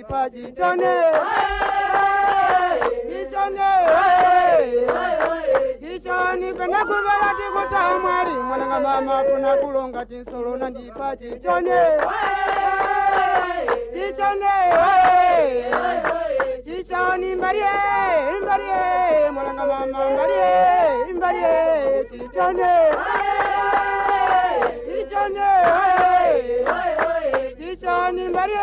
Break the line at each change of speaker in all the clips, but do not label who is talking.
Chichone, chichone, chichoni kwenda kuvela tikuta mwali mwananga mama kuna kulonga tinsolo na ndipa chichone, chichone, chichoni mbalie, mbalie, mwananga mama mbalie, mbalie, chichone, chichone, chichoni mbalie,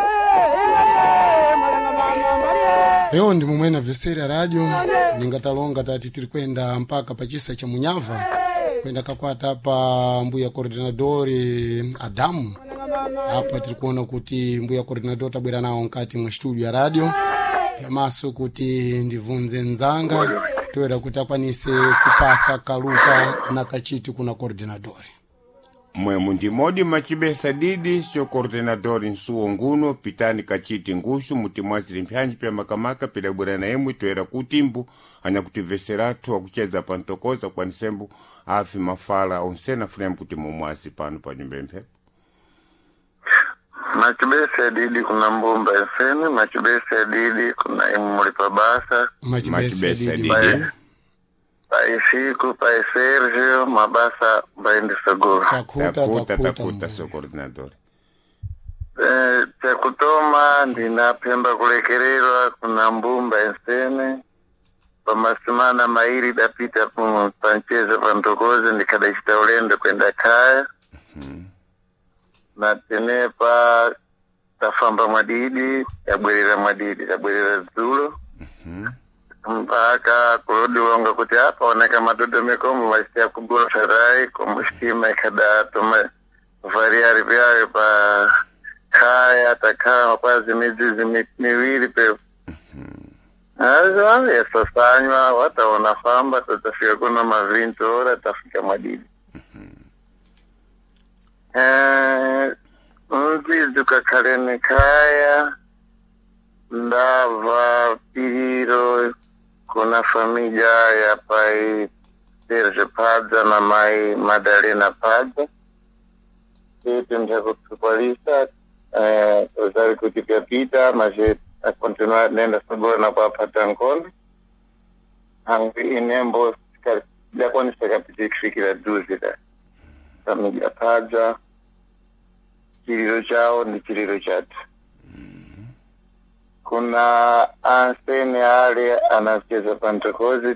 mbalie, mwananga mama mbalie.
Leo ndi mumwena vesera radio ningatalonga tati tiri kwenda mpaka pachisa cha munyava kwenda kakwata pa mbuya coordinadori Adamu. Apa tiri kuona kuti mbuya coordinador tabwera nawo mkati mwa studio ya radio pyamaso kuti ndivunze nzanga toera kuti akwanise kupasa kaluka na kachiti kuna coordinadori.
Mwemu ndimodi macibesa didi sio coordenador nsuwo nguno pitani kachiti nguxu mutimwaziri mpyanji pya makamaka pidabwera na imwe toera kutimbu anyakutimveseratu akucheza pantokoza kwanisembu afi mafala onsena funemu kuti mumwazi pano pa nyumba mphepo.
Machibese didi kuna mbumba FM, machibese didi kuna imulipa basa,
Machibesa
Machibesa
didi.
didi.
Pai Chico, pai Sérgio, mabasa baende seguro.
Takuta
takuta
takuta
takuta
mbuya.
sio coordenador.
Chakutoma ndinapemba kulekererwa kuna mbumba FM pamasimana mairi dapita panchezo pantokoze ndikadachita ulendo kwenda kaya na tenepa tafamba mwadidi tabwerera mwadidi tabwerera dzulo mpaka kulodiwonga kuti apa oneka madodomeko machita kugula sarai komusitima ikhadatoma variari vyayo pa khaya takhala kwazi midzizi miwiri pe azo yasasanywa wataona famba tatafika kuno mavinto ora tafika mwadidi. Mzizi ukakhaleni khaya ndava piriro kuna família ya pai Sergio Padza na mai Madalena Padza tete ndakutsukwalisa uzali kuti pyapita mas a continuar nenda sabora na kwapata nkondo hangu inembo dakwanisa kapita kufikira duzi da família Padza chililo chawo ndi chililo chathu. Kuna ansene ale anacheza pantokozi.